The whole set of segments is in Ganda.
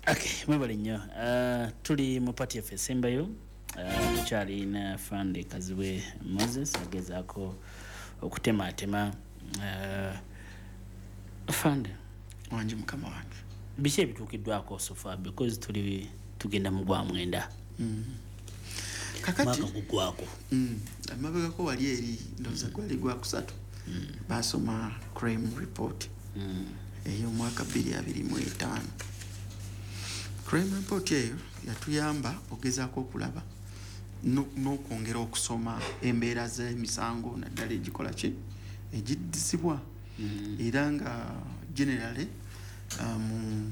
Okay, mwebale nnyo. Tuli mu part yaffe esembayo. Tukyalina Afande Kazibwe Moses agezaako okutematema. Afande. Wangi, mukama wange. Biki ebituukiddwako so far? Because tuli tugenda mu gwa 9. Kakati mwaka gugwako. Amabegako wali eri, ndowooza gwali gwakusatu, basoma crime report ey'omwaka 2025. Crime report eyo yatuyamba ogezaako okulaba n'okwongera okusoma embeera z'emisango, naddala egikola ki, egiddizibwa. Era nga generally mu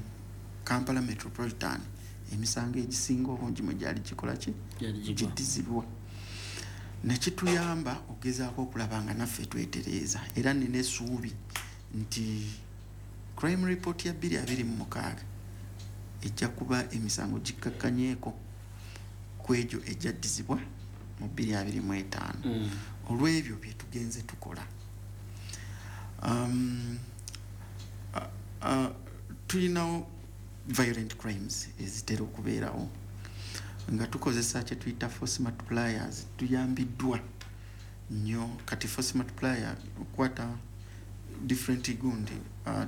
Kampala Metropolitan emisango egisinga obungi mwe gyali gikola ki, Gyali gigwa. giddizibwa, nekituyamba ogezaako okulaba nga naffe twetereeza. Era nina essuubi nti crime report ya 2026 ejja kuba emisango gikkakkanyeeko ku egyo egyaddizibwa mu 2025 olw'ebyo bye tugenze tukola. Tulinawo violent crimes ezitera okubeerawo nga tukozesa kye tuyita force multipliers. Tuyambiddwa nnyo. Kati force multiplier okukwata different gundi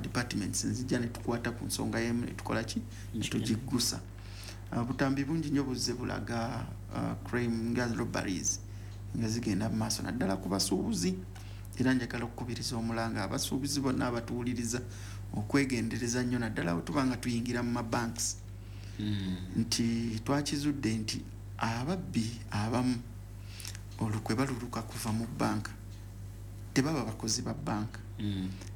departments nzija netukwata ku nsonga yemu netukola ki, netugiggusa. Butambi bungi nnyo buzze bulaga crime nga robberies nga zigenda mu maaso, naddala ku basuubuzi. Era njagala okukubiriza omulanga abasuubuzi bonna abatuwuliriza okwegendereza nnyo, naddala bwe tuba nga tuyingira mu mabanks, nti twakizudde nti ababbi abamu olukwe baluluka kuva mu banka, tebaba bakozi ba banka.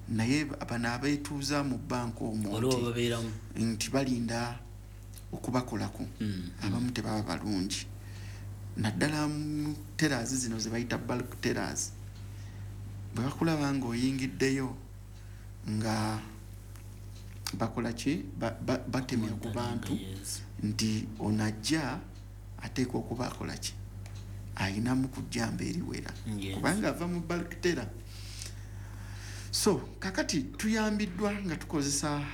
Naye bano abeetuuza mu banka omwo waliwo babeeramu nti balinda okubakolako. Abamu tebaba balungi, naddala mu tellers zino ze bayita bulk tellers. Bwe bakulaba ng'oyingiddeyo nga bakola ki, batemya ku bantu nti onajja ateekwa okuba akola ki, ayinamu kujjamba eriwera kubanga ava mu bulk teller. So kakati tuyambiddwa nga tukozesa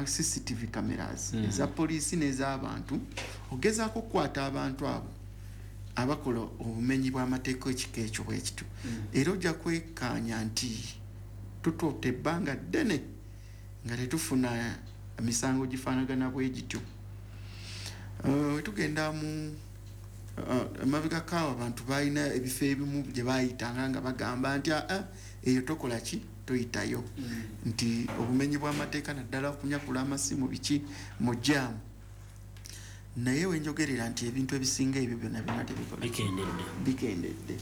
CCTV cameras eza poliisi n'ez'abantu ogezaako okukwata abantu abo abakola obumenyi bw'amateeka ekika ekyo bwe kityo. Era ojja kwekkaanya nti tutuuta ebbanga ddene nga tetufuna misango gifaanagana bwe gityo. Tugenda mu emabegako awo, abantu balina ebifo ebimu gye bayitanga nga bagamba nti aa, eyo tokola ki, toyitayo, nti obumenyi bw'amateeka, naddala okunyakula amasimu, biki mu jaamu. Naye wenjogerera nti ebintu ebisinga ebyo byonna byonna tebikola. Bikendedde. Bikendedde.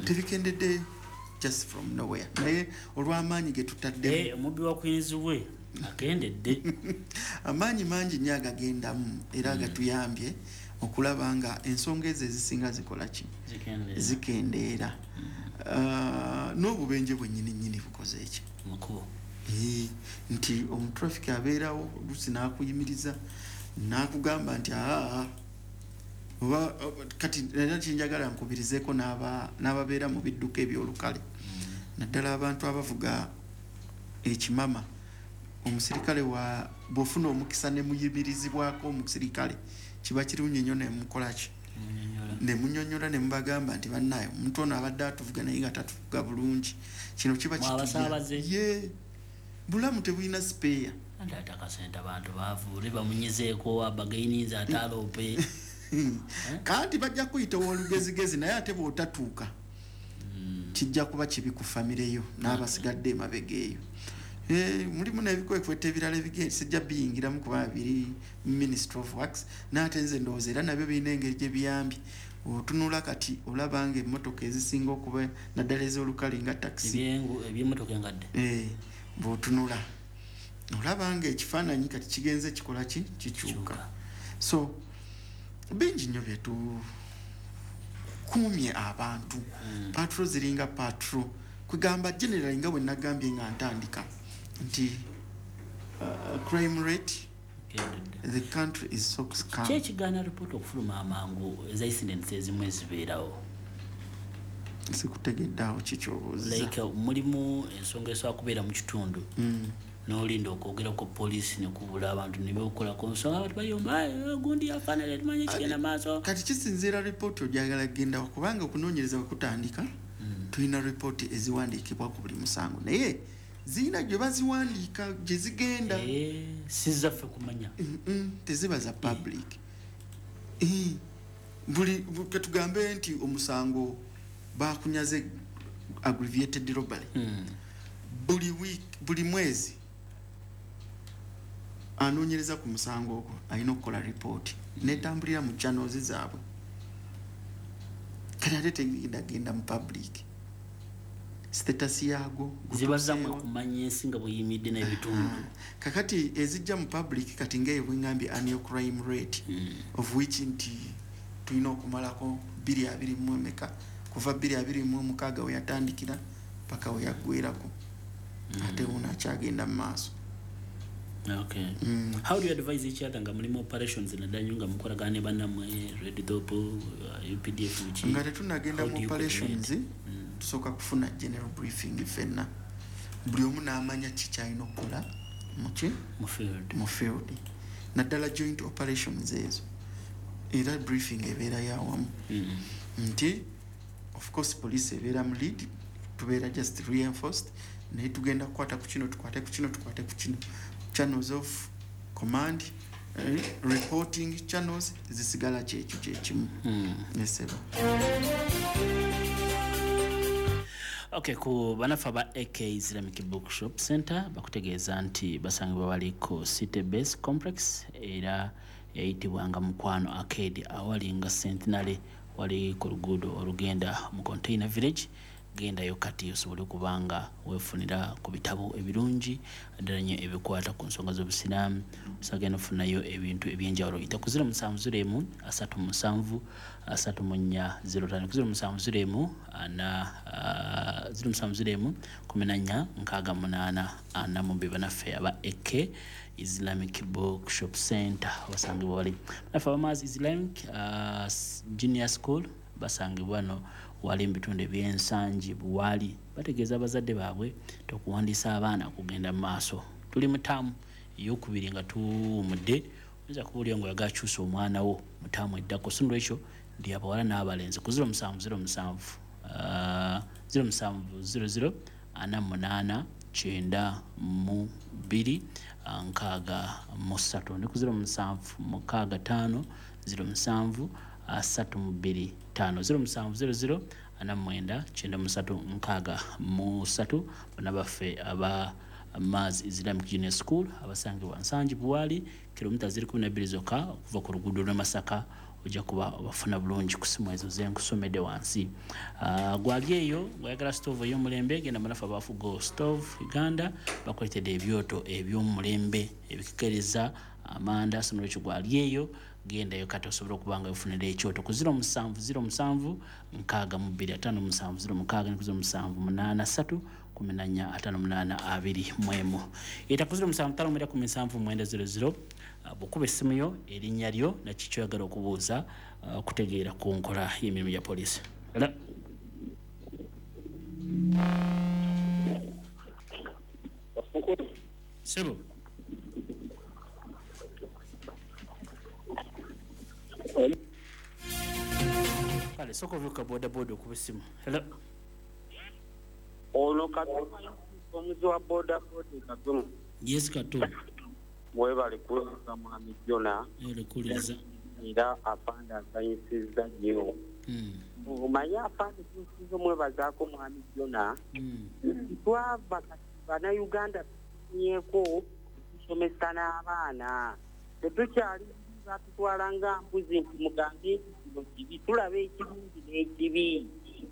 Tebikendedde just from nowhere, naye olw'amaanyi ge tutaddemu. Omubbi wa Queens we akendedde. Amaanyi mangi nnyo agagendamu era agatuyambye okulaba nga ensonga ezo ezisinga zikola ki, zikendeera. Zikendeera. N'obubenje bwennyini nnyini bukoze eki mukubo. Nti omutraffic abeerawo oluusi n'akuyimiriza n'akugamba nti aa, oba kati era kinjagala nkubirizeeko n'ababeera mu bidduka ebyolukale, naddala abantu abavuga ekimama. Omusirikale wa bw'ofuna omukisa ne muyimirizibwako omusirikale, kiba kirungi nnyo nemukolaki, Munyonyola. Ne munyonyola ne mubagamba nti bannaye, omuntu ono abadde atuvuga naye nga tatuvuga bulungi. Kino kiba Mwe abasaabaze. Ye bulamu tebulina spare. Anti ate akasente abantu baavu, oli bamunyizeeko, abagaininze ate aloope. Kanti bajja kuyita owolugezigezi, naye ate bw'otatuuka kijja kuba kibi ku famire yo n'abasigadde emabega eyo. Mulimu n'ebikwekweto ebirala sijja biyingiramu kuba biri Ministry of Works, naye ate nze ndowooza era nabyo birina engeri gye biyambye. Otunula kati olaba nga emmotoka ezisinga okuba, naddala ez'olukale nga takisi, Ebyemotoka engadde. Bw'otunula olaba nga ekifaananyi kati kigenze kikola ki, kikyuka. Kyuka. So bingi nnyo byetukuumye abantu. Patrol ziringa patrol, kwegamba generally nga bwe nagambye nga ntandika nti crime rate Kendedde. the country is so calm. Ki ekigaana ripooti okufuluma amangu eza incidents ezimu ezibeerawo? Sikutegedde awo, kikyobuuza? Like mulimu ensonga esobola kubeera mu kitundu. N'olinda okwogera ku poliisi nekubula abantu nebeokolako nsonga, abantu bayomba, "Eh, gundi afaanana, tumanyi kigenda maaso." Kati kisinziira ripooti ogyagala kugendawo, kubanga okunoonyereza bwe kutandika, tulina ripooti eziwandiikibwa ku buli musango, naye zirina gye baziwandiika gye zigenda. Eh, si zaffe kumanya. Teziba za public. Buli ketugambe nti omusango bakunyaze aggravated robbery, buli week, buli mwezi anoonyereza ku musango ogwo alina okukola ripooti netambulira mu channels zaabwe. Kati ate tegendagenda mu public status yaagwo ziba zammwe gutuuseewa. Kumanya ensi nga bweyimiridde n'ebitundu. Kakati ezijja mu public, kati ngaeyo bwengambye annual crime rate, of which nti tulina okumalako 2 emeka, kuva 2026 we yatandikira paka we yaggwerako, ate wuno akyagenda mu maaso. Okay. How do you advise each other nga mulimu operations, naddala nnyo nga mukolagana ne bannammwe Red Top, UPDF, biki? Nga tetunagenda How mu do you operations, coordinate? Tusooka kufuna general briefing ffenna, buli omu n'amanya ki kyalina okukola muki mu field. Mu field, naddala joint operations ezo, era briefing ebeera yawamu nti of course police ebeera mu lead, tubeera just reinforced, naye tugenda kukwata ku kino, tukwate ku kino, tukwate ku kino. Channels of command, reporting channels zisigala kyekyo kyekimu. Neseba. Okay, ku banafe aba AK Islamic Bookshop Center bakutegeeza nti basangibwa bali ku City Base Complex, era yayitibwanga Mukwano Arcade, awali nga Centenary, wali ku luguudo olugenda mu Container Village. Gendayo kati osobole okubanga weefunira ku bitabo ebirungi ddala nnyo ebikwata ku nsonga z'obusiraamu. Osagenda ofunayo ebintu ebyenjawulo. Yita ku 0701 37 34 05, ku 0701 4, 0701 14 68 42. Banaffe aba AK Islamic Bookshop Center basangibwa wali. Banaffe abamaazi Islamic Junior School basangibwa no wali mu bitundu ebyensangi buwali. Bategeeza abazadde baabwe okuwandiisa abaana kugenda mu maaso. Tuli mu taamu eyokubiri nga tuwumudde. Oyinza kuba nga oyagala kyusa omwana wo mu taamu eddako, so nolwekyo ndi abawala n'abalenzi ku 0707 0700 48 92 63, ne ku 0765 07 32 5, 0700 49 93 63. Bonna baffe aba Mars Islamic Junior School abasangibwa Nsangi Buwali, kilomita ziri 12 zokka okuva ku luguudo lw'e Masaka, ojja kuba obafuna bulungi ku simu ezo zenkusomedde wansi. Gwali eyo ng'oyagala stove ey'omulembe, genda munafu abafugo Stove Uganda, bakuleetedde ebyoto eby'omulembe ebikekereza amanda. So nolwekyo gwali eyo, gendayo kati osobola okuba nga wefunira ekyoto ku 0707 62 57 06, ne ku 0783 14 58 21. Eta ku 07 59 79 00. Bw'okuba essimu yo, erinnya lyo naki kyoyagala okubuuza, okutegeera ku nkola y'emirimu gya poliisi. Era sebo. Kale sooka ovuka bodaboda okuba essimu. Hello. Ono Kato, omuzi wa boda boda Kato. Yes, Kato. Mwebale kuweereza mwami Jona. Olekuliza. Era afande asanyusizza nnyo. Omanyi afande tusinza omwebazaako mwami Jona, twava kati bannayuganda tufunyeeko tusomesa n'abaana, tetukyali batutwala nga mbuzi nti mugambe nti kino kibi. Tulaba ekirungi n'ekibi,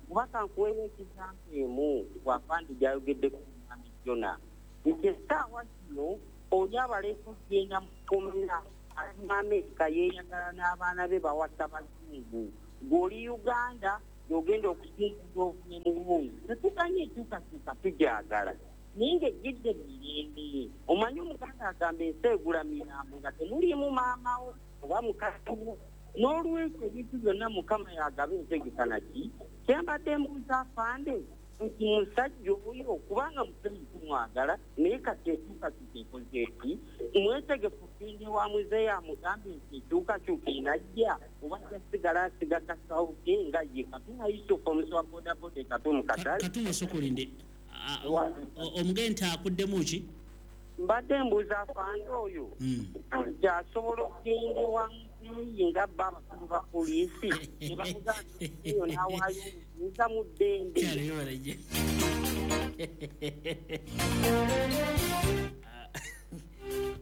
kuba kankuweyo ekizampa emu bwafande gyayogeddeko mwami Jona nti essaawa zino oli abaleeta okugenda mu kkomera ali mu Amerika, yeeyagala n'abaana be bawasa bazungu, ng'oli Uganda gy'ogenda okusinziza ovune mulungi. Tetuganye enkyukakyuka, tugyagala, naye ng'ejjidde mirembe. Omanyi omuganda agamba ensi egula mirambo nga temuliimu maamawo oba mukaziwo. N'olwekyo ebintu byonna Mukama yagaba entegeka. Naki kyembadde mbuuza afande nti musajja oyo, kubanga musemutu tumwagala, naye kati enkyukakyuka ekoze eti? Mwetegefu kugenda ewa muzeeyi amugambe nti enkyukakyuka enajja, oba ajja sigala asiga kasawo ke nga ye Katumwa Yusufu omusi wa bodaboda e Katumu Katale? Katumwa sokolinde omugenda akuddemu ki? Mbadde mbuuza afande oyo nti asobola okugenda ewa muzeeyi nga bba abakulu ba poliisi ne bamugamba eyo n'awaayo obuyinza mu ddembe.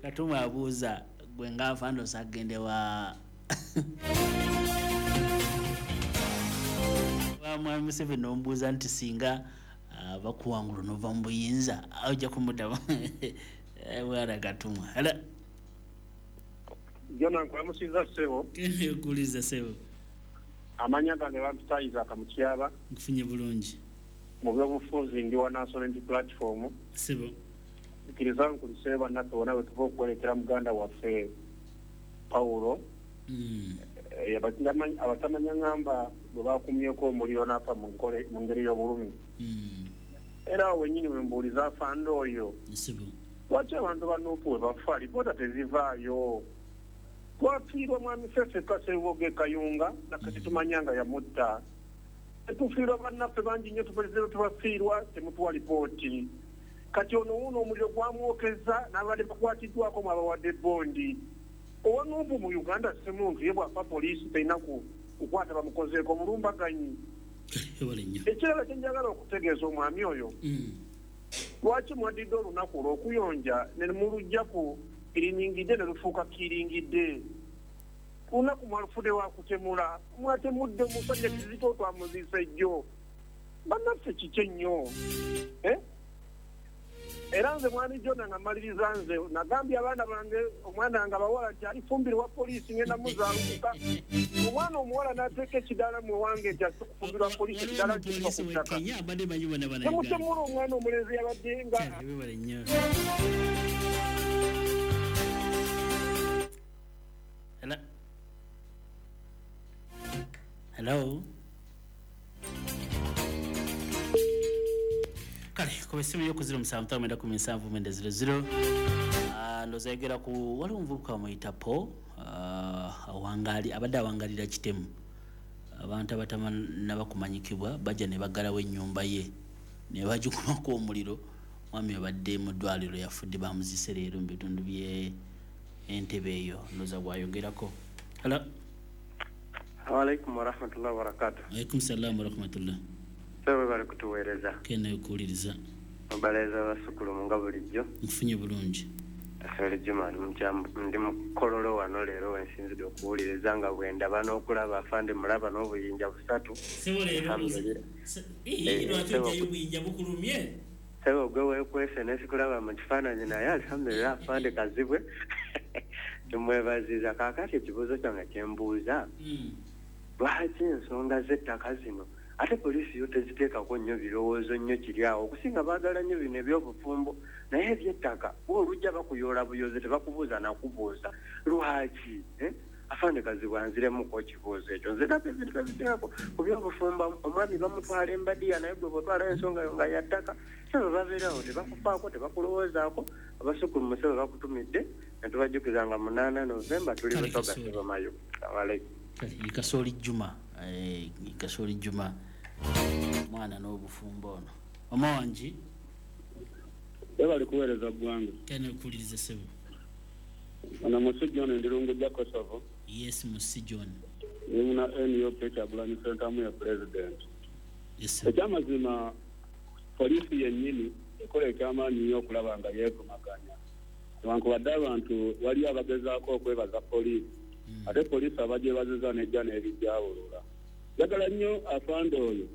Katumwa abuuza gwe nga afande osagende wa Mwami Museveni n'omubuuza nti singa bakuwangula n'ova mu buyinza ojja kumuddamu. Bwana Katumwa. Hello. Jona nkulamusiza ssebo. Nkuliza ssebo. Amanya gange bampita Isaac Mutyaba. Nkufunye bulungi. Mu byobufuzi ndi wa National Unity Platform. Ssebo. Nkiriza nkulisebe bannaffe bonna bwe tuva okuwerekera muganda waffe Paulo. Abatamanya ngamba bwe bakumyeko omuliro n'afa mu ngeri y'obulumi. Era awo wennyini we mbuuliza afande oyo. Ssebo. Lwaki abantu ba Nuupu bwe bafa alipoota tezivaayo? Twafiirwa mwami Ffeffe Kaserubogo Kayunga nakati tumanya nga yamutta. Tetufiirwa bannaffe bangi nnyo, tuperezero tubafiirwa temutuwa lipooti. Kati ono wuuno omuliro gwamwokeza n'abadde bakwatiddwako mwabawadde bondi. Owa Nuupu mu Uganda si muntu ye bw'afa poliisi terina kukwata bamukozeeko omulumbaganyi. Ekirala kye njagala okutegeeza omwami oyo, lwaki mwadidde olunaku olw'okuyonja ne mulujja ku kiringidde ne lufuuka kiringidde? Olunaku mwalufudde wakutemula, mwatemudde omusajja Kizito twamuziise jjo. Bannaffe kiki ennyo? Era nze mwami Jona nga mmaliriza nze nagambye abaana bange, omwana nga bawala nti alifumbirwa poliisi ngenda muzaalukuka. Omwana omuwala n'ateeka ekidaala mu wange nti ase kufumbirwa poliisi, ekidaala kiva ku ttaka. Temutemula omwana omulenzi yabadde nga Hello. Hello. Kale ku essimu yo ku 0759179000 ndowooza yogera ku waliwo omuvubuka bamuyita Paul, awangali abadde awangalira kitemu. Abantu abatamannaba kumanyikibwa bajja ne baggalawo ennyumba ye ne bagikumako omuliro. Mwami abadde mu ddwaliro yafudde, bamuziise leero mu bitundu bye Entebbe eyo ndowooza bw'ayogerako. Hello. Alaikum warahmatullahi wabarakatuh. Alaikum salaam warahmatullah. Ssebo bali kutuweereza. Kene okuwuliriza. Mubaleeza basukulumu nga bulijjo. Nkufunye bulungi. Asole Juma ndi mukololo wano leero wensinzidde okuwuliriza nga bwe ndaba n'okulaba afande mulaba n'obuyinja busatu. Ssebo leero lwaki ojjayo obuyinja bukulumye? Ssebo gwe weekwese ne sikulaba mu kifaananyi naye alhamdulillah afande Kazibwe. Tumwebaziza. Kaakati ekibuuzo kyange kye mbuuza, lwaki ensonga z'ettaka zino ate poliisi yo teziteekako nnyo birowoozo nnyo kiri awo? Okusinga baagala nnyo bino eby'obufumbo, naye eby'ettaka olujja bakuyoola buyozi tebakubuuza nakubuuza lwaki. Afande Kazibwe anziremuko ekibuuzo ekyo. Nze nabyo ebintu babiteekako ku by'obufumbo, omwami bamutwala embadiya naye gwe bw'otwala ensonga yo nga ya ttaka sebo babeerawo tebakufaako tebakulowoozaako. Abasukulu musebo bakutumidde ne tubajjukiza nga 8 Novemba tuli Busoga Ssebo Mayo. Assalamu alaikum. Kasooli Juma, Kasooli Juma mwana n'obufumbo ono. Mama wangi bali kuweereza ggwanga. Kene okuwuliriza ssebo. Ono Musi John Ndirungu gya Kosovo. Yes, Musi John. Ndi muna NUP Kyagulanyi Ssentamu ya president. Yes. Ekyamazima poliisi yennyini ekola ekyamaanyi nnyo okulaba nga yeevumaganya. Newankubadde abantu waliyo abagezaako okwebaza poliisi, ate poliisi abagyebaziza n'ejja n'ebijjawulula. Njagala nnyo afande oyo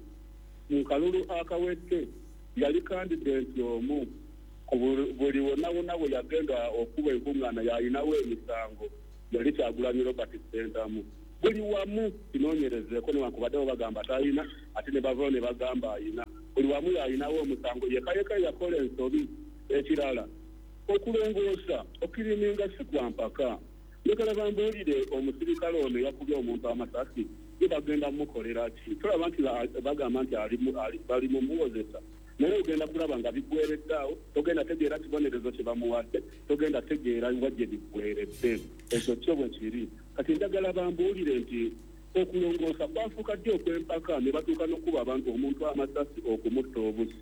mu kalulu akawedde yali kandidenti omu buli wonna wonna bwe yagenda okuba enkuŋŋaana yalinawo emisango, yali Kyagulanyi Robert Ssentamu. Buli wamu kinoonyerezeeko newankubadde bo bagamba talina, ate ne bavaayo ne bagamba ayina. Buli wamu yalinawo omusango, yekka yekka yakola ensobi. Ekirala okulongoosa okiriminga si kwa mpaka. Njagala bambuulire omusirikale ono yakubye omuntu amasasi ye bagenda mukolera ki? Tulaba nti bagamba nti bali mumuwozesa. Naye ogenda kulaba nga biggweredde awo, togenda tegeera kibonerezo kye bamuwadde, togenda tegeera wa gye biggweredde. Ekyo kyo bwe kiri. Kati njagala bambuulire nti okulongoosa kwafuuka ddi okw'empaka ne batuuka n'okuba abantu omuntu amasasi okumutta obusi.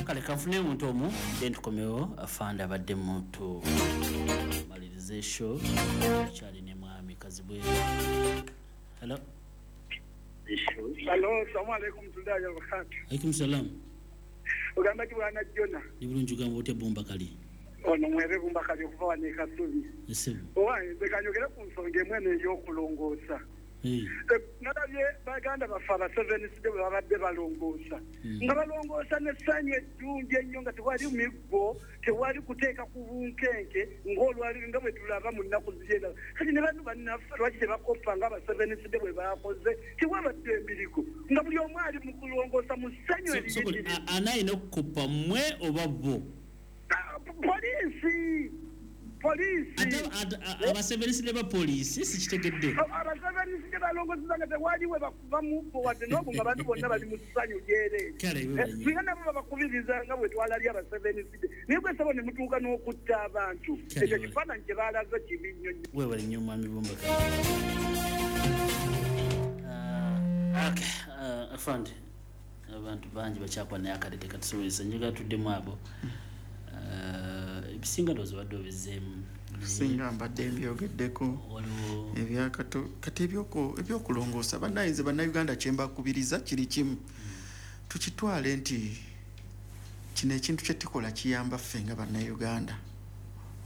Kale kanfune omuntu omu then tukomewo. Afande abadde muntu malirize show kyali ne mwami Kazibwe. Hello. Hello, salamu alaikum warahmatullahi wabarakatuh. Alaikum salam. Ogamba ki bwana Jona? Ni bulungi ugamba otya Bumba Kali? Ono mwebe Bumba Kali okuva wano e Kasubi. Owange nze kanyogere ku nsonga emu eno ey'okulongoosa. Nalabye baganda baffe abaseveniside bwe babadde balongoosa, nga balongoosa n'essanyu eddungi ennyo, nga tewali miggo, tewali kuteeka ku bunkenke ng'olwali nga bwe tulaba mu nnaku ziri endala. Kati ne bano bannaffe lwaki tebakoppa nga abaseveniside bwe bakoze? Tewabadde emirigo, nga buli omu ali mu kulongoosa mu ssanyu eriyitirivu. Ani alina okukoppa, mmwe oba bo? Poliisi. Poliisi. Abaseveniside ba poliisi sikitegedde. Abaseveniside balongoseza nga tewali we bakuba muggo wadde n'ogu, nga abantu bonna bali mu ssanyu lyereere. Singa nabo babakubiriza nga bwe twalabye abaseveniside, naye gwe ssebo ne mutuuka n'okutta abantu. Ekyo kifaananyi kye baalaze kibi nnyo nnyo. Weebale nnyo mwami Bumba. Afande, abantu bangi bakyakuba naye akadde tekatusobozesa. Njagala tuddemu abo. Ebisinga ndowooza obadde obizeemu. Singa mbadde mbyogeddeko ebyakato kati ebyokulongoosa bannayinza bannayuganda kye mbakubiriza kiri kimu, tukitwale nti kino ekintu kye tukola kiyamba ffe nga bannayuganda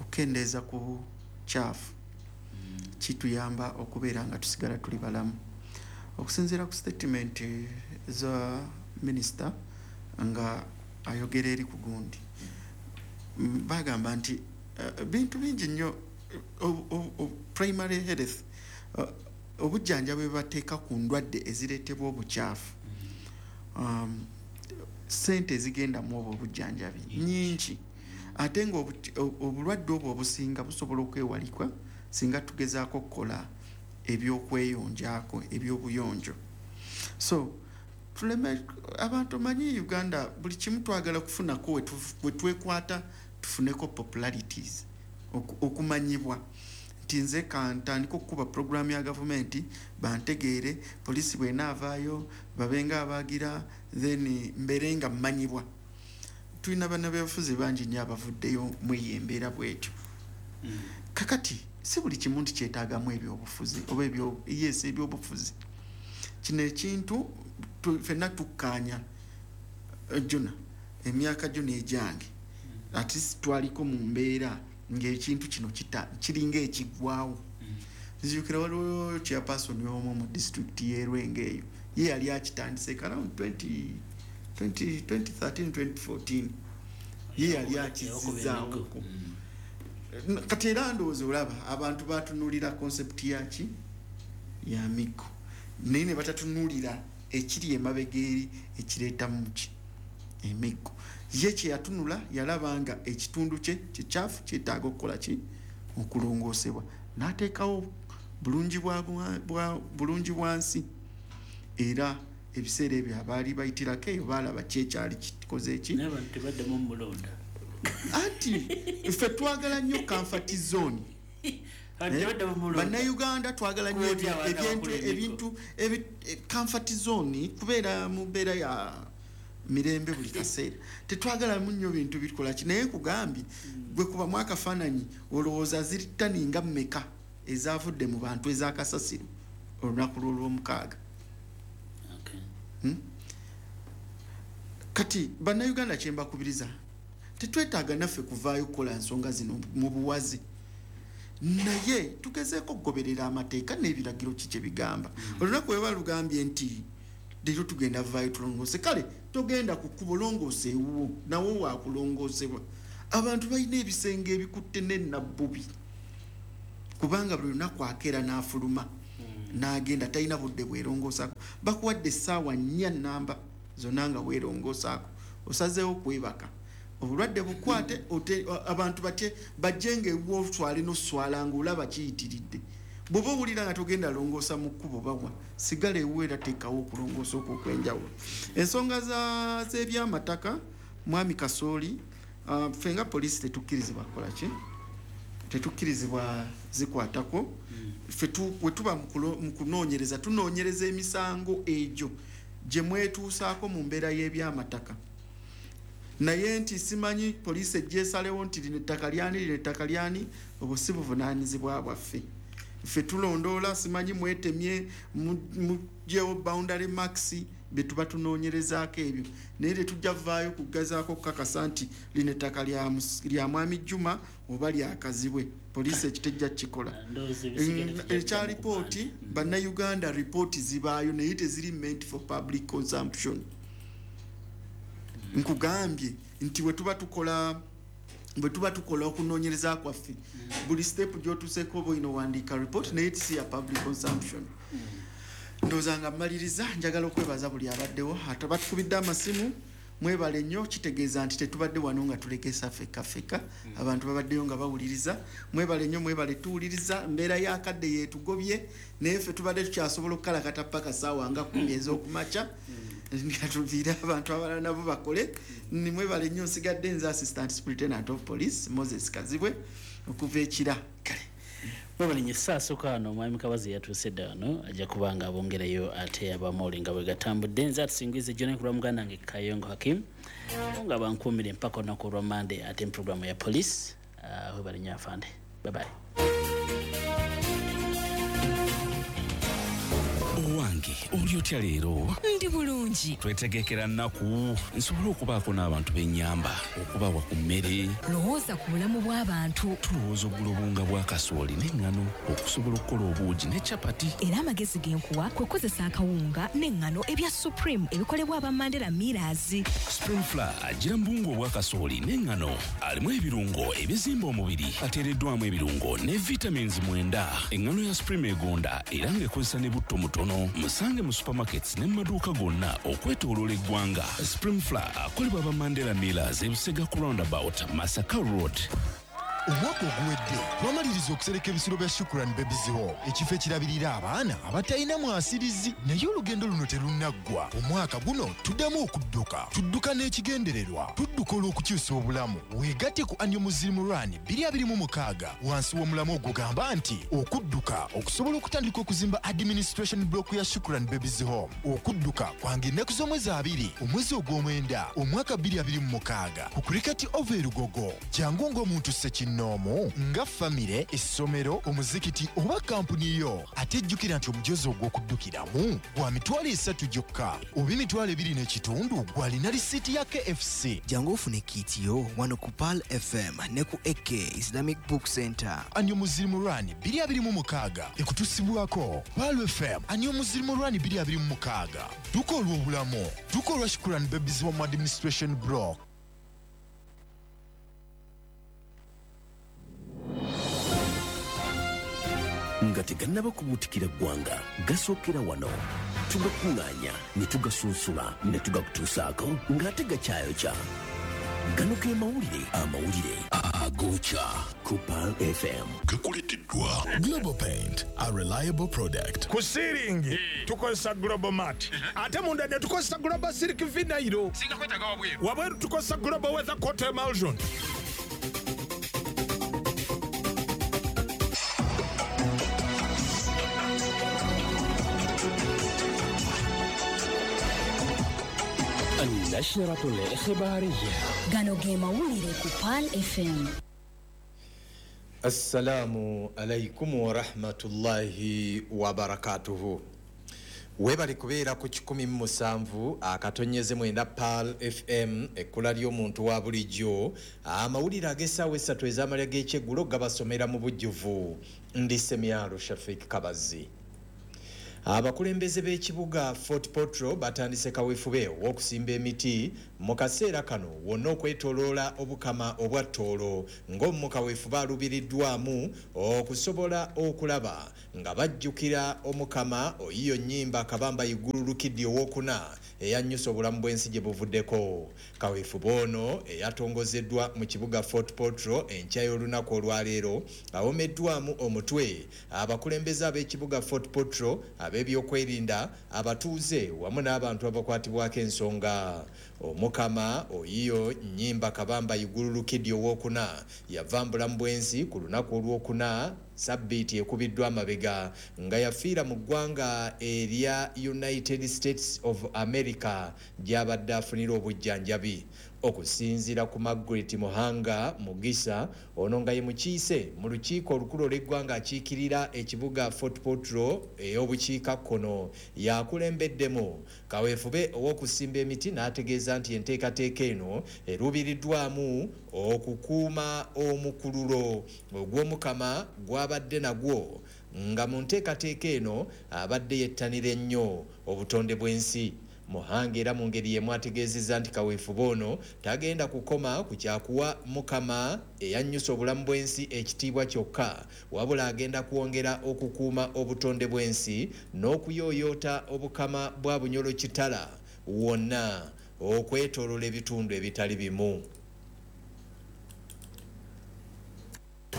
okukendeeza ku kyafu, kituyamba okubeera nga tusigala tuli balamu. Okusinziira ku statement za minisita nga ayogera eri ku gundi, bagamba nti bintu bingi nnyo, primary health, obujjanjabi bwe bateeka ku ndwadde ezireetebwa obukyafu, ssente ezigenda mu obwo obujjanjabi nnyingi, ate nga obulwadde obwo obusinga busobola okwewalikwa singa tugezaako okukola ebyokweyonjaako, ebyobuyonjo. So tuleme abantu, manyi Uganda buli kimu twagala kufunako we twekwata tufuneko popularities, okumanyibwa nti nze kantandika okukuba programu ya gavumenti bantegeere, poliisi bw'enaavaayo babenga abagira, then mbeere nga mmanyibwa. Tulina bannabyabufuzi bangi nnyo abavuddeyo mweyo embeera bwetyo. Kakati si buli kimu nti kyetaagamu ebyobufuzi oba yes ebyobufuzi. Kino ekintu ffenna tukkaanya Jona, emyaka gyo n'egyange ate twaliko mu mbeera ng'ekintu kino kiringa ekiggwawo. Nzijukira waliwo chairperson omu mu disitulikiti y'e Lwengo eyo, ye yali akitandise around 2013 2014, ye yali akizizaawo. Kati era ndowooza olaba abantu batunuulira concept yaki ya miggo, naye ne batatunuulira ekiri emabega eri ekireeta muki emiggo. Ye kye yatunula yalaba nga ekitundu kye kikyafu kyetaaga okukola ki, okulongoosebwa, n'ateekawo bulungi bwa nsi. Era ebiseera ebyo abaali bayitirako eyo baalaba ki ekyali kikoze eki. Anti ffe twagala nnyo comfort zone. Bannayuganda twagala nnyo ebintu comfort zone, kubeera mu mbeera ya mirembe buli kaseera. Tetwagalamu nnyo bintu bikola ki. Naye nkugambye gwe kubamu akafaananyi olowooza ziri ttani nga mmeka ezavudde mu bantu ez'akasasiro olunaku lw'olwomukaaga. Kati bannayuganda kye mbakubiriza, tetwetaaga naffe kuvaayo kukola nsonga zino mu buwaze, naye tugezeeko okugoberera amateeka n'ebiragiro ki kye bigamba. Olunaku bwe balugambye nti leero tugenda vaayo tulongoose, kale togenda ku kkubo, longoose ewuwo, nawo waakulongoosebwa. Abantu balina ebisenge ebikutte n'ennabbubi, kubanga buli lunaku akeera n'afuluma n'agenda, talina budde bwerongoosaako. Bakuwadde essaawa 4 namba zonna nga weerongoosaako, osazeewo kwebaka, obulwadde bukwate, abantu batye bajje nga ewuwo otwale n'oswala ng'olaba kiyitiridde. Bw'oba owulira nga togenda longoosa mu kkubo bawa, sigala ewuwo era teekawo okulongoosa okwo okw'enjawulo. Ensonga z'ebyamataka, Mwami Kasooli, ffe nga poliisi tetukkirizibwa kukola ki? Tetukkirizibwa zikwatako. Ffe bwe tuba mu kunoonyereza, tunoonyereza emisango egyo gye mwetuusaako mu mbeera y'ebyamataka. Naye nti simanyi poliisi ejja esalewo nti lino ettaka lyani, lino ettaka lyani, obwo si buvunaanyizibwa bwaffe. Ffe tulondoola, simanyi mwetemye, muggyewo boundary marks, bye tuba tunoonyerezaako ebyo. Naye tetujja vaayo kugezaako okukakasa nti lino ettaka lya Mwami Juma oba lya Kazibwe. Poliisi ekyo tejja kukikola. Ekya ripooti, Bannayuganda ripooti zibaayo naye teziri meant for public consumption. Nkugambye nti bwe tuba tukola okunoonyereza kwaffe, buli step gy'otuuseeko oba olina owandiika report, naye si ya public consumption. Ndowooza nga mmaliriza, njagala okwebaza buli abaddewo. Ate batukubidde amasimu, mwebale nnyo, kitegeeza nti tetubadde wano nga tulekesa ffekka ffekka, abantu babaddeyo nga bawuliriza. Mwebale nnyo, mwebale tuwuliriza. Mbeera y'akadde yeetugobye, naye ffe tubadde tukyasobola okukalakata paka ssaawa nga 10 ez'okumakya, nga tuviire abantu abalala nabo bakole. Mwebale nnyo. Nsigadde nze Assistant Superintendent of Police Moses Kazibwe okuva e Kira. Kale mwebale nnyo. Ssaasooka wano Omwami Kabazi yatuuse dda wano, ajja kuba nga abongerayo ate abamawulire nga bwe gatambudde. Nze atusingize John kulwa muganda wange Kayongo Hakim, nga bankuumire mpaka olunaku olwa Mande ate mu programu ya police. Webale nnyo afande. Bye bye. Owange, oli otya leero? Ndi bulungi. Twetegekera nnaku nsobole okubaako n'abantu b'ennyamba, okubawa ku mmere. Lowooza ku bulamu bw'abantu. Tulowooza okugula obuwunga bwa kasooli n'eŋŋano okusobola okukola obuugi ne capati. Era amagezi ge nkuwa kwe kukozesa akawunga n'eŋŋano ebya Supreme ebikolebwa aba Mandela Millers. Supreme Flour agira mu buwunga obwa kasooli n'eŋŋano, alimu ebirungo ebizimba omubiri, ateereddwamu ebirungo ne vitamins 9. Eŋŋano ya Supreme egonda era ng'ekozesa ne butto mutono. Musange mu supermarkets ne mu maduuka gonna okwetooloola eggwanga. Supreme Flour akolebwa aba Mandela Millers e Busega ku roundabout Masaka Road. Omwaka oguwedde twamaliriza okusereka ebisulo bya Shukran Babies Home, ekifo ekirabirira abaana abatalina mwasirizi. Naye olugendo luno terunnaggwa. Omwaka guno tuddamu okudduka, tudduka n'ekigendererwa, tudduka olw'okukyusa obulamu. Weegatte ku Annual Muslim Run 2026 wansi w'omulamu ogugamba nti okudduka okusobola okutandika okuzimba administration block ya Shukran Babies Home. Okudduka kwange ennaku z'omwezi 2 omwezi ogw'omwenda omwaka 2026 ku Cricket Oval e Lugogo. Jangu ng'omuntu ssekinoomu, nga famire, essomero, omuzikiti oba kampuni yo. Ate jjukira nti omujozi ogw'okuddukiramu gwa 300,000 gyokka oba 2,500 gw'alina risiiti ya KFC. Jangu ofune kit yo wano ku Pearl FM ne ku AK Islamic Book Center. Annual Muslim Run 2026 ekutusibwako Pearl FM. Annual Muslim Run 2026, tukola obulamu, tukola Shukran Babies Home Administration Block. Nga tegannaba kubuutikira ggwanga, gasookera wano. Tugakuŋŋaanya ne tugasunsula ne tugakutuusaako ng'ate gakyayokya. Gano ge mawulire, amawulire agokya ku Pearl FM. Gakuleeteddwa Global Paint, a reliable product. Ku siiringi tukozesa Global Mat, ate munda ne tukozesa Global Silk Vinyl. Wabweru tukozesa Global Weather Coat Emulsion. النشرة الإخبارية. Gano ge mawulire ku Pearl FM. Assalamu alaikum wa rahmatullahi wa barakatuhu. Webali kubeera ku 107.9 Pearl FM, ekkula ly'omuntu wa bulijjo. Amawulire ag'essaawa 3 ez'amalya g'ekyeggulo gabasomera mu bujjuvu. Ndi Semyalo Shafik Kabazi. Abakulembeze b'ekibuga Fort Portal batandise kaweefube ow'okusimba emiti Mu kaseera kano wonna okwetooloola obukama obwa Tooro ng'omuka weefuba alubiriddwamu okusobola okulaba nga bajjukira omukama Oyiyo Nnyimba Kabamba Igulu Lukidi owokuna eyannyusa obulamu bw'ensi gye buvuddeko. Kaweefube ono eyatongozeddwa mu kibuga Fort Portal enkya y'olunaku olwaleero awomeddwamu omutwe abakulembeze ab'ekibuga Fort Portal, ab'ebyokwerinda, abatuuze wamu n'abantu abakwatibwako ensonga. Omukama Oyiyo Nnyimba Kabamba Igulu Lukidi owokuna yava mbulamu bw'ensi ku lunaku olwokuna sabbiiti ekubiddwa amabega nga yafiira mu ggwanga erya United States of America gy'abadde afunira obujjanjabi. Okusinziira ku Margaret Muhanga Mugisa, ono nga ye mukiise mu lukiiko olukulu olw'eggwanga akiikirira ekibuga Fort Portal ey'obukiikakkono, yakulembeddemu kaweefube ow'okusimba emiti n'ategeeza nti enteekateeka eno eruubiriddwamu okukuuma omukululo ogw'omukama gw'abadde nagwo, nga mu nteekateeka eno abadde yettanira ennyo obutonde bw'ensi. Muhanga era mu ngeri y'emu ategeezezza nti kaweefube ono tagenda kukoma ku kyakuwa mukama eyannyusa obulamu bw'ensi ekitiibwa kyokka, wabula agenda kwongera okukuuma obutonde bw'ensi n'okuyooyoota obukama bwa Bunyoro Kitara wonna okwetooloola ebitundu ebitali bimu.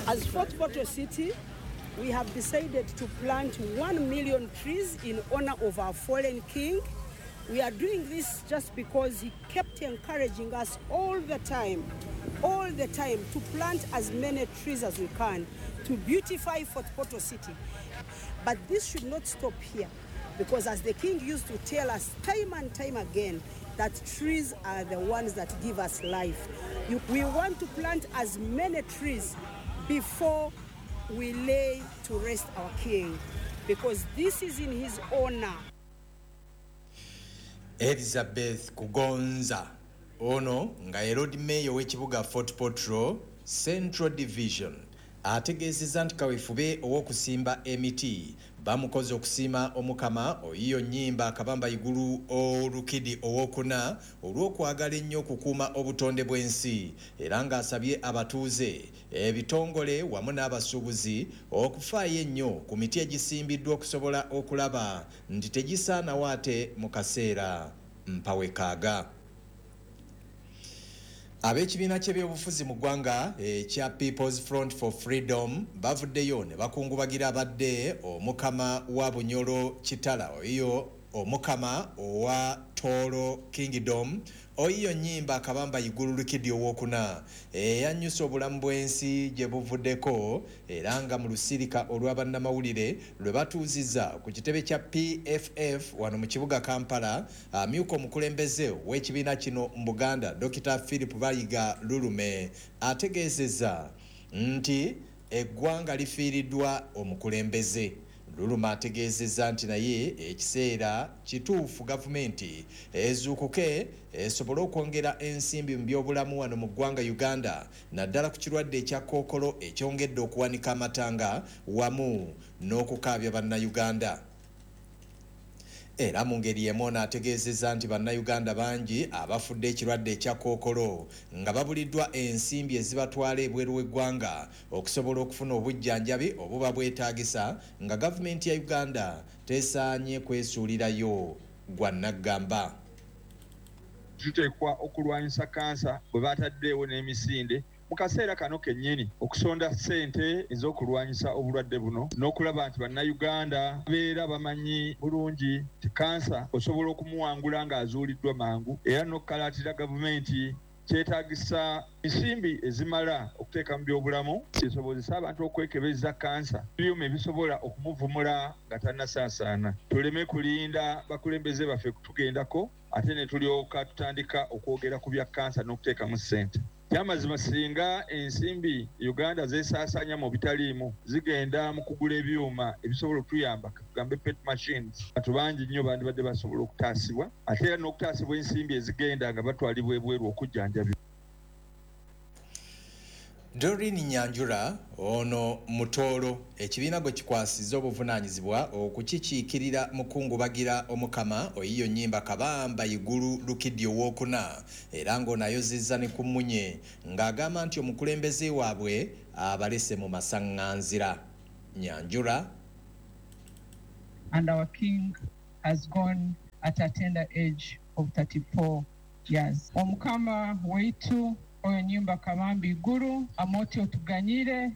As Fort Portal City, we have decided to plant 1 million trees in honor of our fallen king. We are doing this just because he kept encouraging us all the time to plant as many trees as we can to beautify Fort Portal City. But this should not stop here, because as the king used to tell us time and time again, that trees are the ones that give us life. We want to plant as many trees before we lay to rest our king, because this is in his honor. Elizabeth Kugonza ono nga ye Lord Mayor w'ekibuga Fort Portal Central Division ategeezezza nti kaweefube ow'okusimba emiti bamukoze okusiima omukama Oyiyo Nnyimba Kabamba Igulu Olukidi owokuna olw'okwagala ennyo okukuuma obutonde bw'ensi, era ng'asabye abatuuze, ebitongole wamu n'abasuubuzi okufaayo ennyo ku miti egisimbiddwa okusobola okulaba nti tegisaanawo ate mu kaseera mpawekaaga. Ab'ekibiina ky'ebyobufuzi mu ggwanga ekya People's Front for Freedom bavuddeyo ne bakungubagira abadde omukama wa Bunyoro Kitara Oyiyo omukama owa Tooro Kingdom Oyiyo Nnyimba Kabamba Igulu Lukidi owokuna eyannyusa obulamu bw'ensi gye buvuddeko, era nga mu lusirika olw'abannamawulire lwe batuuzizza ku kitebe kya PFF wano mu kibuga Kampala, amyuka omukulembeze w'ekibiina kino mu Buganda Dr. Philip Bayiga Lulume ategeezezza nti eggwanga lifiiriddwa omukulembeze. Lulume ategeezezza nti naye ekiseera kituufu gavumenti ezuukuke esobole okwongera ensimbi mu byobulamu wano mu ggwanga Uganda, naddala ku kirwadde ekya kookolo ekyongedde okuwanika amatanga wamu n'okukaabya bannayuganda. Era mu ngeri y'emu ono ategeezezza nti bannayuganda bangi abafudde ekirwadde ekya kookolo nga babuliddwa ensimbi ezibatwala ebweru w'eggwanga okusobola okufuna obujjanjabi obuba bwetaagisa, nga gavumenti ya Uganda tesaanye kwesuulirayo gwa nnaggamba. Tuteekwa okulwanyisa kansa bwe bataddeewo n'emisinde mu kaseera kano kennyini okusonda ssente ez'okulwanyisa obulwadde buno n'okulaba nti bannayuganda beera bamanyi bulungi nti kansa osobola okumuwangula ng'azuuliddwa mangu, era n'okukalaatira gavumenti kyetaagisa ensimbi ezimala okuteeka mu byobulamu kisobozesa abantu okwekebeza kansa, ebyuma ebisobola okumuvumula nga tannasaasaana. Tuleme kulinda bakulembeze baffe kutugendako ate ne tulyoka tutandika okwogera ku bya kansa n'okuteekamu ssente. Kyamazima singa ensimbi Uganda zeesaasaanya mu bitaliimu zigenda mu kugula ebyuma ebisobola okutuyamba, tugambe PET machines, abantu bangi nnyo bandibadde basobola okutaasibwa, ate era n'okutaasibwa ensimbi ezigenda nga batwalibwa ebweru okujjanjabibwa. Doreen Nyanjura ono Mutooro ekibiina gwe kikwasizza obuvunaanyizibwa okukikiikirira mukungubagira Omukama Oyiyo Nnyimba Kabamba Iguru Lukidi Owokuna, era ng'ono ayozezza ne ku mmunye ng'agamba nti omukulembeze waabwe abalese mu masaŋŋanzira. Nyanjura. And our king has gone at a tender age of 34 years. Omukama waitu Oyo Nyimba Kabamba Iguru amoti otuganyire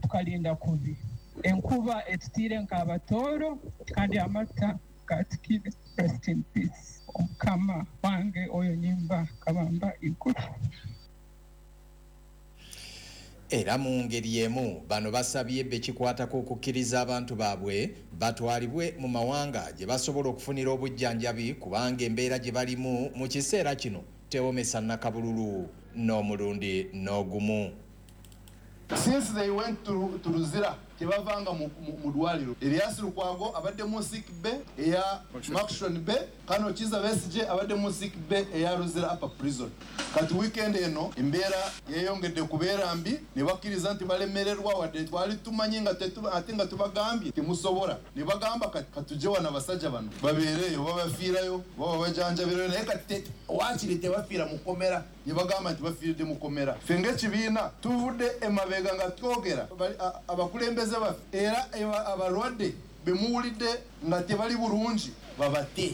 tukalinda kubi enkuba etutire nk'Abatooro kandi amata gatukire. Rest in peace Omukama wange Oyo Nyimba Kabamba Iguru. Era mu ngeri emu bano basabye bekikwatako okukkiriza abantu baabwe batwalibwe mu mawanga gye basobola okufunira obujjanjabi, kubanga embeera gye balimu mu kiseera kino tewomesa nakabululu n'omulundi n'ogumu. Since they went to Luzira, tebavanga mu ddwaliro. Erias Lukwago abadde mu sick bay eya Murchison Bay, Kano Kizza Besigye abadde mu sick bay eya Luzira Upper Prison. Kati weekend eno embeera yeeyongedde kubeera mbi, ne bakkiriza nti balemererwa, wadde twali tumanyi nga ate nga tubagambye temusobola. Ne bagamba katujje wano abasajja bano babeereyo, babafiirayo, baba bajanjabirayo, naye kati waakiri tebafiira mu kkomera. Ne bagamba nti bafiiridde mu kkomera. Ffe ng'ekibiina tuvudde emabega nga twogera abakulembeze baffe era abalwadde bemuwulidde nga tebali bulungi babate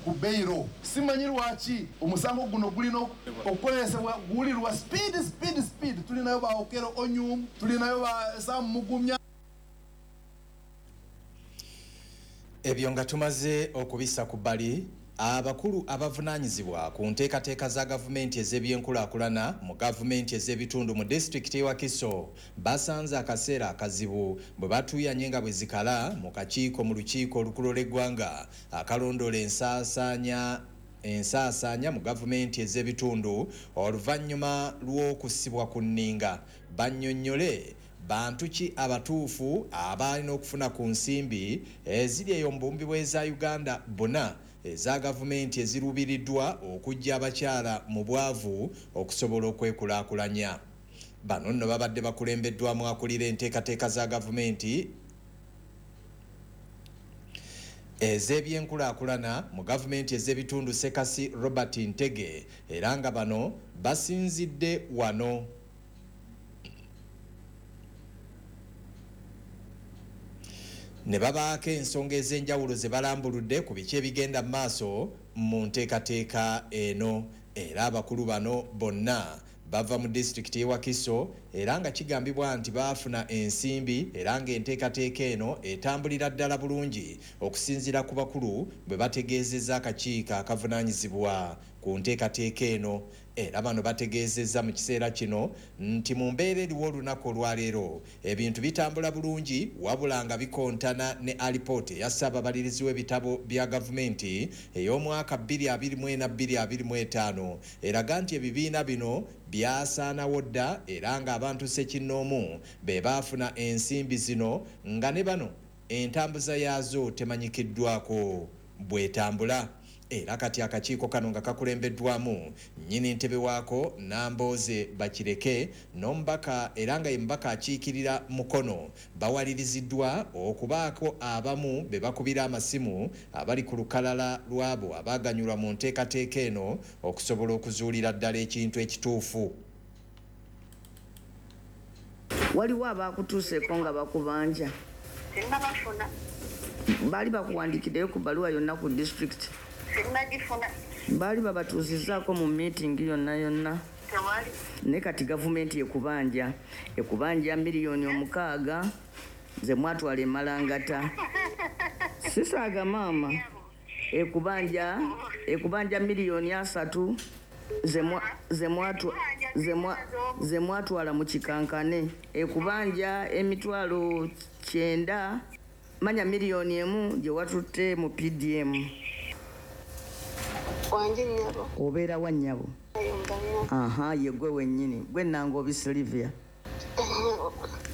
ku beyiro. Simanyi lwaki omusango guno gulina okukozesebwa guwulirwa speed speed speed. Tulinayo ba Okello Onyum, tulinayo ba Sam Mugumya. Ebyo nga tumaze okubissa ku bbali, abakulu abavunaanyizibwa ku nteekateeka za gavumenti ez'ebyenkulaakulana mu gavumenti ez'ebitundu mu disitulikiti y'e Wakiso basanze akaseera akazibu bwe batuuyanye nga bwe zikala mu kakiiko mu lukiiko olukulu lw'eggwanga akalondoola ensaasaanya mu gavumenti ez'ebitundu oluvannyuma lw'okusibwa ku nninga. Bannyonnyole bantu ki abatuufu abalina okufuna ku nsimbi eziri eyo mu buwumbi bw'eza Uganda bonna eza gavumenti eziruubiriddwa okuggya abakyala mu bwavu okusobola okwekulaakulanya. Bano nno babadde bakulembeddwamu akulira enteekateeka za gavumenti ez'ebyenkulaakulana mu gavumenti ez'ebitundu Ssekasi Robert Ntege, era nga bano basinzidde wano ne babaako ensonga ez'enjawulo ze balambuludde ku biki ebigenda mu maaso mu nteekateeka eno. Era abakulu bano bonna bava mu disitulikiti y'e Wakiso, era nga kigambibwa nti baafuna ensimbi era ng'enteekateeka eno etambulira ddala bulungi okusinziira ku bakulu bwe bategeezezza akakiiko akavunaanyizibwa ku nteekateeka eno. Era bano bategeezezza mu kiseera kino nti mu mbeera eriwo olunaku olwaleero ebintu bitambula bulungi, wabula nga bikontana ne alipoota eya ssaababalirizi w'ebitabo bya gavumenti ey'omwaka 2024-2025 eraga nti ebibiina bino byasaanawo dda, era ng'abantu ssekinnoomu be baafuna ensimbi zino nga ne bano entambuza yaazo temanyikiddwako bw'etambula. Era kati akakiiko kano nga kakulembeddwamu nnyini ntebe waako Nambooze Bakireke n'omubaka era nga ye mubaka akiikirira Mukono bawaliriziddwa okubaako abamu be bakubira amasimu abali ku lukalala lw'abo abaaganyulwa mu nteekateeka eno okusobola okuzuulira ddala ekintu ekituufu. Waliwo abakutuuseeko nga bakubanja? Sinnabafuna. Baali bakuwandiikiddeyo ku bbaluwa yonna ku disitulikiti? Sinnagifuna. Baali babatuuzizzaako mu miitingi yonna yonna? Tewali. Naye kati gavumenti ekubanja 6 million ze mwatwala e Malangata. Sisaaga maama. Ekubanja 30 million ze mwatwala mu kikankane. Ekubanja 900,000 manya 1 million gye watutte mu PDM. Wanje nnyabo. Obeera wa nnyabo? Aha, ye gwe wennyini. Gwe Nangobi Sylvia.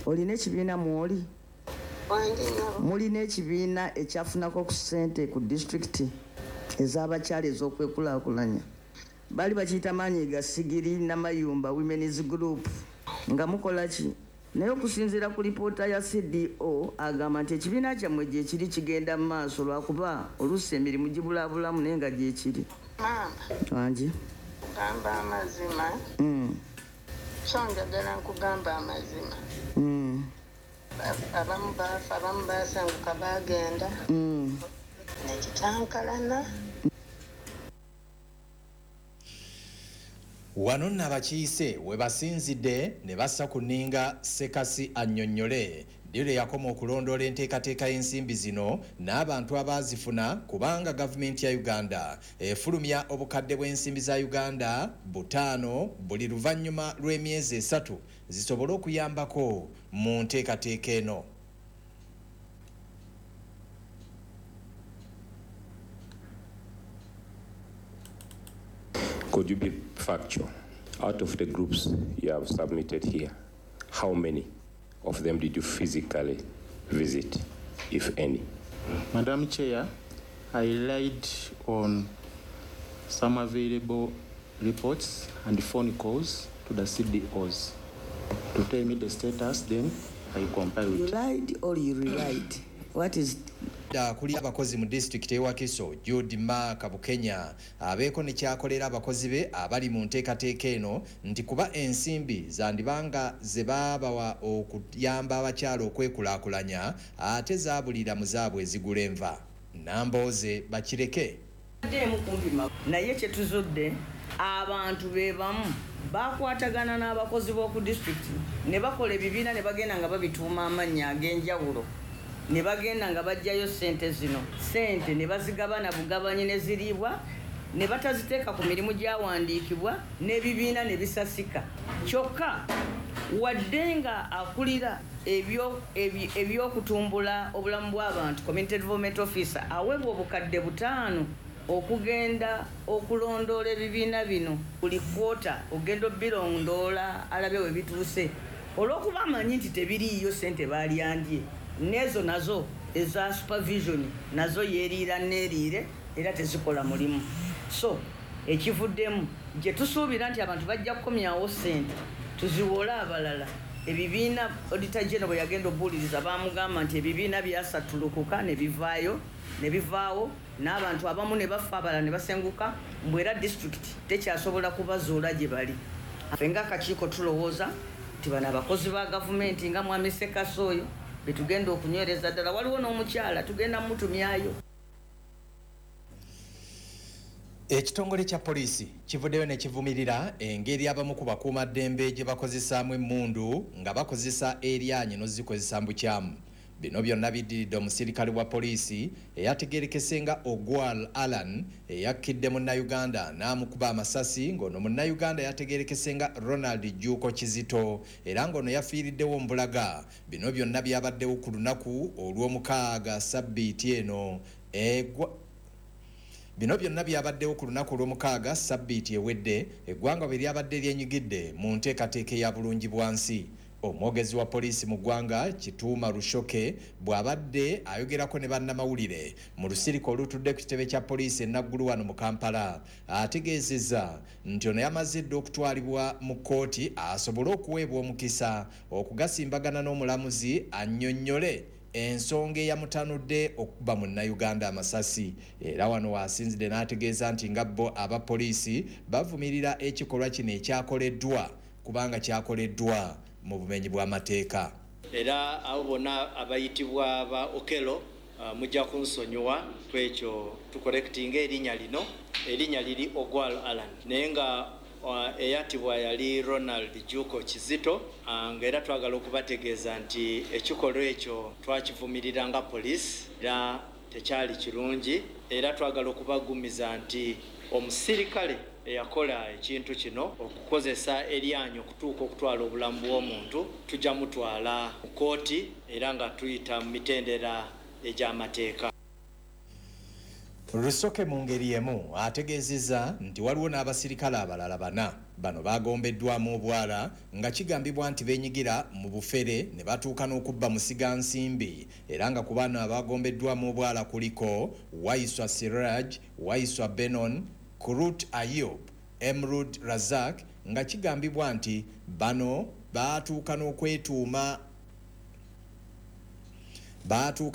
Olina ekibiina mw'oli? Wanje nnyabo. Mulina ekibiina ekyafunako ku ssente ku disitulikiti ez'abakyala ez'okwekulaakulanya? Baali bakiyita maanyi ga Sigiri Namayumba Women's Group. Nga mukola ki? Naye okusinziira ku lipoota ya CDO agamba nti ekibiina kyammwe gye kiri kigenda mu maaso lwakuba oluusi emirimu gibulaabulamu naye nga gye kiri. Maama. Wangi. Gamba amazima. So njagala nkugamba amazima. Abamu baafa, abamu baasenguka baagenda. Nekikyankalana. Wano nno abakiise we basinzidde ne bassa ku nninga Ssekasi annyonnyole ddi lwe yakoma okulondoola enteekateeka y'ensimbi zino n'abantu abaazifuna, kubanga gavumenti ya Uganda efulumya obukadde bw'ensimbi za Uganda 5 buli luvannyuma lw'emyezi 3 zisobole okuyambako mu nteekateeka eno. Could you be factual? Out of the groups you have submitted here, how many of them did you physically visit, if any? Madam Chair, I relied on some available reports and phone calls to the CDOs to tell me the status, then I compile it. You lied or you relied? What is... Kuli abakozi mu disitulikiti y'e Wakiso Jude Mark Bukenya abeeko ne kyakolera abakozi be abali mu nteekateeka eno nti kuba ensimbi zandibanga ze baabawa okuyamba abakyala okwekulaakulanya ate zaabulira mu zaabwe ezigula enva. Nambooze bakireke. Naye kye tuzudde abantu be bamu bakwatagana n'abakozi b'oku disitulikiti ne bakola ebibiina ne bagenda nga babituuma amannya ag'enjawulo. Ne bagenda nga bajjayo ssente zino, ssente ne bazigabana bugabanyi ne ziriibwa ne bataziteeka ku mirimu gyawandiikibwa n'ebibiina ne bisasika. Kyokka wadde nga akulira ebyokutumbula obulamu bw'abantu community development officer aweebwa obukadde 5 okugenda okulondoola ebibiina bino buli kwota ogenda obirondoola alabe we bituuse, olw'okuba amanyi nti tebiriiyo ssente baalyandye. Nezo nazo eza supervision nazo yeeriira neeriire era tezikola mulimu. So ekivuddemu gye tusuubira nti abantu bajja kukomyawo ssente tuziwole abalala. Ebibiina Auditor General bwe yagenda obuuliriza baamugamba nti ebibiina byasatulukuka ne bivaayo ne bivaawo n'abantu abamu ne bafa abalala ne basenguka, mbu era disitulikiti tekyasobola kubazuula gye bali. Ffe ng'akakiiko tulowooza nti bano abakozi ba gavumenti nga Mwami Ssekasi oyo betugenda okunywereza ddala, waliwo n'omukyala tugenda mutumyayo. Ekitongole kya poliisi kivuddeyo ne kivumirira engeri abamu ku bakuumaddembe gye bakozesaamu emmundu nga bakozesa eryanyi n'ozikozesa mu bukyamu. Bino byonna biddiridde omusirikale wa poliisi eyategeerekese nga Ogwal Alan eyakkidde munnayuganda n'amukuba amasasi, ng'ono munnayuganda yategeerekese nga Ronald Juuko Kizito era ng'ono yafiiriddewo mbulaga. Bino byonna byabaddewo ku lunaku olw'omukaaga sabbiiti eno. Bino byonna byabaddewo ku lunaku olw'omukaaga sabbiiti ewedde eggwanga bwe lyabadde lyenyigidde mu nteekateeka eya bulungi bwa nsi. Omwogezi wa poliisi mu ggwanga Kituuma Rushoke bw'abadde ayogerako ne bannamawulire mu lusirika olutudde ku kitebe kya poliisi e Naggulu wano mu Kampala ategeezezza nti ono yamaze dda okutwalibwa mu kkooti asobole okuweebwa omukisa okugasimbagana n'omulamuzi annyonnyole ensonga eyamutanudde okuba munnayuganda amasasi. Era wano waasinzidde n'ategeeza nti nga bo abapoliisi bavumirira ekikolwa kino ekyakoleddwa kubanga kyakoleddwa mu bumenyi bw'amateeka. Era abo bonna abayitibwa ba Okello mujja kunsonyiwa kwekyo tukorektinga erinnya lino. Erinnya liri Ogwal Alan, naye nga eyatibwa yali Ronald Juuko Kizito, nga era twagala okubategeeza nti ekikolwa ekyo twakivumirira nga poliisi era tekyali kirungi. Era twagala okubagumiza nti omusirikale eyakola ekintu kino okukozesa eryanyi okutuuka okutwala obulamu bw'omuntu tujja mutwala mu kkooti era nga tuyita mu mitendera egy'amateeka. Rusoke mu ngeri emu ategeezezza nti waliwo n'abasirikale abalala 4 bano bagombeddwamu obwala nga kigambibwa nti beenyigira mu bufere ne batuuka n'okubba musigansimbi, era nga ku bano abagombeddwamu obwala kuliko Waiswa Siraj, Waiswa Benon, Kurut Ayub, Emrud Razak, nga kigambibwa nti bano baatuuka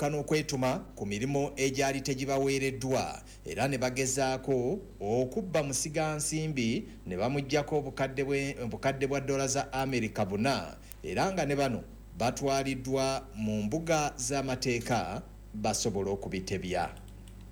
n'okwetuma ku mirimu egyali tegibaweereddwa, era ne bagezaako okubba musigansimbi ne bamuggyako obukadde bwa dola za Amerika 4, era nga ne bano batwaliddwa mu mbuga z'amateeka basobole okubitebya.